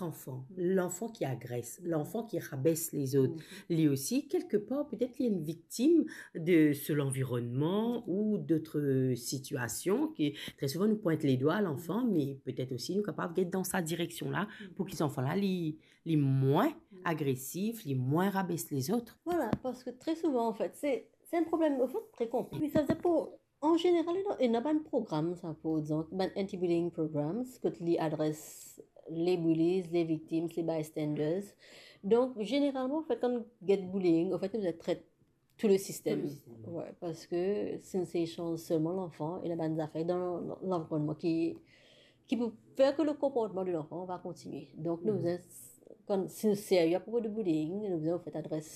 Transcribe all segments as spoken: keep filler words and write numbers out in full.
lanfan, lanfan ki agres, lanfan ki rabes lezot, li osi, kelkepar, petet li enn viktim de so lanvironnman ou dot sitiasion ki, tre souvan, nou pwint ledwa lanfan, me petet osi nou kapav get dan sa direksion la pou ki zanfan la, li, li mwin agresif, li mwin rabes lezot. Vwala, parski tre souvan, anfet, se, se enn problem, anfet, tre konpleks. Wi, sa ve dir pou, an zeneral, ena, ena bann program, sa, par exanp, bann anti-bullying programs, kot li adres les bullies, les victimes, les bystanders. Donk, zeneralman, anfet, kan nou get bullying, anfet, nou tret tou le sistem. Tou le sistem. Wi, parski si nou ese sanz selman lanfan, ena bann zafer dan lanvironnman ki, ki pou fer ki le konportman de lanfan va kontinie. Donk, nou bizin, kan, si nou serye apropo de bullying, nou bizin, anfet, adres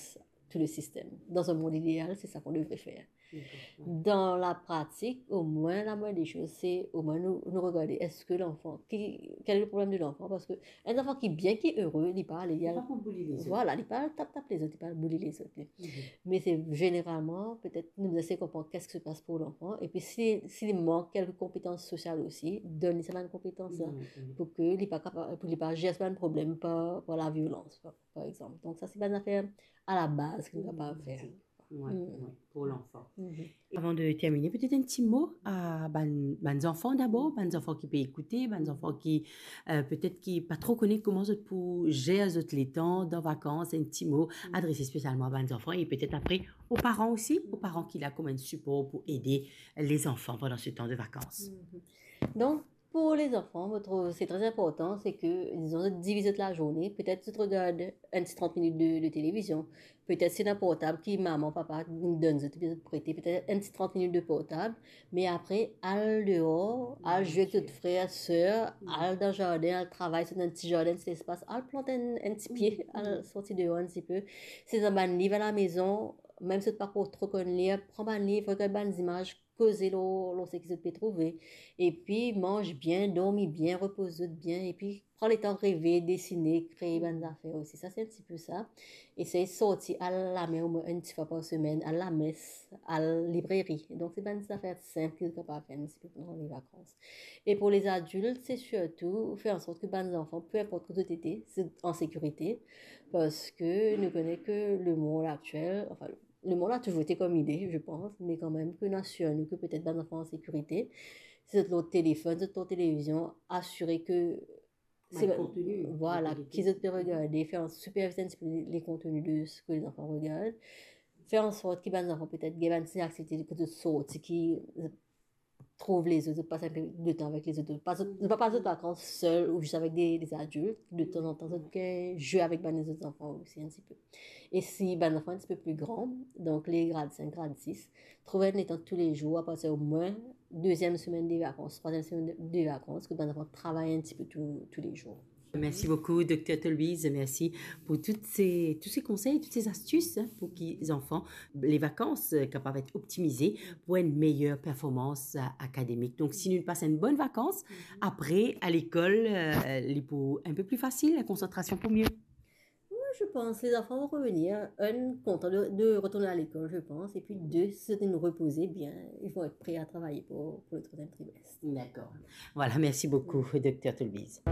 tou le sistem. Dan enn mond ideal, se sa ki nou devre fer. Dakor, wi. Dan la pratik, omwin, la moyenne des choses, se omwin nou, nou regarde, eski lanfan, ki, kel le problem de lanfan? Parski enn zanfan ki bien, ki ere, li pa ale, li pa pou bully lezot. Vwala, li pa tap, tap lezot, li pa bully lezot, li. Me se zeneralman, petet, nou bizin konpran ki se pas pou lanfan, epi si, si li mank kelke konpetans sosial osi, donn li sa bann konpetans la, pou ki li pa kapav, pou li pa zer sa bann problem par, par laviolans, par, par exanp. Donk, sa, se bann zafer a la baz ki nou kapav fer. Wi, wi, pou lanfan. Avan de termine, petet enn ti mo a bann, bann zanfan dabor, bann zanfan ki pe ekoute, bann zanfan ki, euh, petet ki pa tro kone kouma zot pou zer zot letan dan vakans, enn ti mo adrese spesialman a bann zanfan e petet apre o paran osi, o paran ki la kouma enn sipor pou ede lezanfan pandan se tan de vakans. Donk, pou lezanfan, mo trouv se tre inportan, se ki, dizon, zot diviz zot lazourne, petet zot regard enn ti trant minit de, de televizion, petet si ena portab ki mama, papa donn zot, zot prete, petet enn ti trant minit de portab, me apre, al deor, al zwe ek zot frer, ser, al dan zardin, al travay, si ena enn ti zardin, ti lespas, al plant enn, enn ti pie, al sorti deor enn ti pe. Si ena bann liv alamezon, mem si zot pa tro konn lir, pran bann liv, regard bann zimaz, koze lor, lor seki zot pe trouve. Epi manz bien, dormi bien, repoz zot bien, epi pran letan reve, desine, kree bann zafer osi. Sa, se enn ti pe sa. Esey sorti al lamer omwin enn ti fwa par semenn, al lames, al libreri. Donk, se bann zafer sinp ki zot kapav fer enn ti pe pandan le vakans. E pou lezadilt, se sirtou fer ansort ki bann zanfan, pe inport kot zot ete, zot an sekirite, parski nou kone ki lemond aktiel, anfin, lemond la touzour ete kouma li ete, je pense, me kanmem ki nou asir nou ki petet bann zanfan an sekirite. Si zot lor telefonn, zot lor televizion, asire ki, vwala, ki zot pe regarde, fer supervize enn ti pe le konteni de seki lezanfan regard. Fer ansort ki bann zanfan petet gagn bann ti aktivite kot zot sorti ki trouv lezot, zot pas enn pe de tan avek lezot, zot pa, zot pa pas zot vakans sel ou zis avek de, de adilt, de tanzantan zot gagn zwe avek bann lezot zanfan osi enn ti pe. E si bann zanfan enn ti pe pli gran, donk le grad sink, grad sis, trouv enn letan toulezour, apartir omwin deziem semenn de vakans, trwaziem semenn de, de vakans, ki bann zanfan travay enn ti pe tou, toulezour. Merci beaucoup, docteur Tolbiz. Merci pour toutes ces, tous ces conseils, toutes ces astuces, hein, pour ki zanfan, les vacances, euh, capables d'être optimisées pour une meilleure performance, euh, académique. Donc, si nou pas une bonne vacances, après, à l'école, euh, li pou un peu plus facile, la concentration pou mieux. Oui, je pense, les enfants vont revenir, un, contents de, de retourner à l'école, je pense, et puis deux, si zot inn repoze bien, ils vont être prêts à travailler pour, pour le troisième trimestre. D'accord. Voilà, merci beaucoup, docteur Tolbiz.